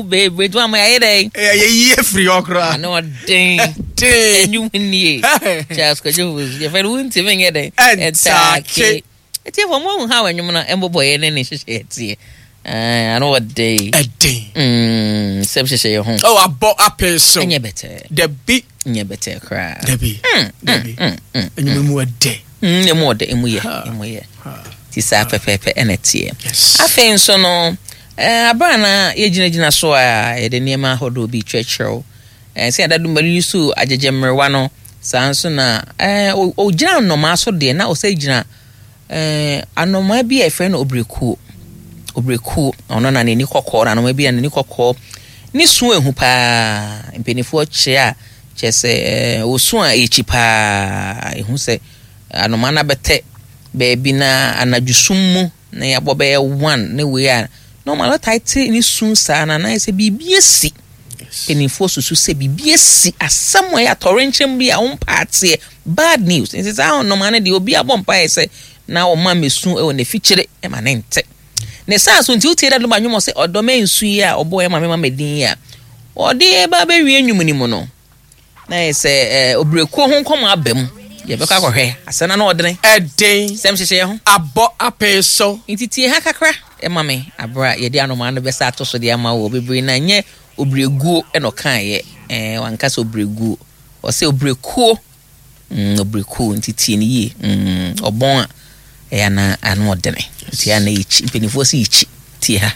Bebree nti wama yɛayɛ dɛn? Yɛyi afiri hɔ koraa. Ano ɔden. Den. Ɛnwom nie. Charles Kwadwo Fosu yɛfrɛ no wontumi nyɛ dɛn? Ɛntaake. Atiefo mo ahu how ɛnwom no ɛmbobɔeɛ ne ne nhyehyɛeɛ teɛ. Ano ɔden. Ɛden. Sɛm hyehyɛ yɛ ho. Oh, abɔ apee so. Ɛnyɛ bɛtɛɛ. Dabi. Nyɛ bɛtɛɛ koraa. Dabi. Dabi. Ɛnwom mu ɛdɛ. Emu ɔdɛ, emu yɛ, emu yɛ. Ti saa pɛpɛɛpɛ ɛna ɛteɛ. Afei nso no, abere a na yɛgyinagyina so a yɛde nneɛma ahodoɔ bi kyerɛkyerɛw. Sɛ yɛda dum yi so agyegye mmerewa no, saa nso na ɔgyina nnomaa so deɛ na ɔsɛ gyina anomaa bi a yɛfrɛ no obirekuo. Obirekuo, ɔno na n'ani kɔkɔɔ, na anomaa bi a n'ani kɔkɔɔ. Ne su ehu paa. Mpanimfoɔ kyerɛ a Kyerɛ sɛ, osu a ekyi paa. Ehu sɛ anomaa no abɛtɛ baabi na anadwo sum mu na yɛabɔ bɛyɛ one ne wei a, normal ɔtae te ne su saa na na ayɛ sɛ biribi asi. Mpanimfoɔ susu sɛ biribi asi, asɛm a ɛyɛ atɔwrɛnkyɛm bi a wɔmpɛ ateɛ, bad news. Nti saa anomaa no deɛ obi abɔ mpaeɛ sɛ na ɔma mmesu wɔ n'afikyire ma ne nte. Ne saa so nti wotie Daddy Lumba nnwom ɔse ɔdɔ mɛnsu yi a ɔbɔɔ ɛma me ma medin yi a ɔde ba bɛwie nnwom no mu no na yɛ sɛ eh, obirekuo ho nkɔmɔ aba mu yɛbɛkɔ akɔhwɛ asɛm na na ɔdene ɛden sɛm hyehyɛ ho abɔ apee so. Nti tie ha kakra ɛma me aberɛ a yɛde anomaa no bɛsa ato so de ama wɔ bebree na nyɛ obireguo ɛna ɔkaeɛ ɛɛ wanka sɛ obireguo ɔsɛ obirekuo. Mm, ɔbrɛ nti tie no yie. Mm, ɔbɔn a, ɛyɛ ana ano ɔdene. Nti ana yɛkyi, mpanimfoɔ sɛ yɛkyi. Tie ha.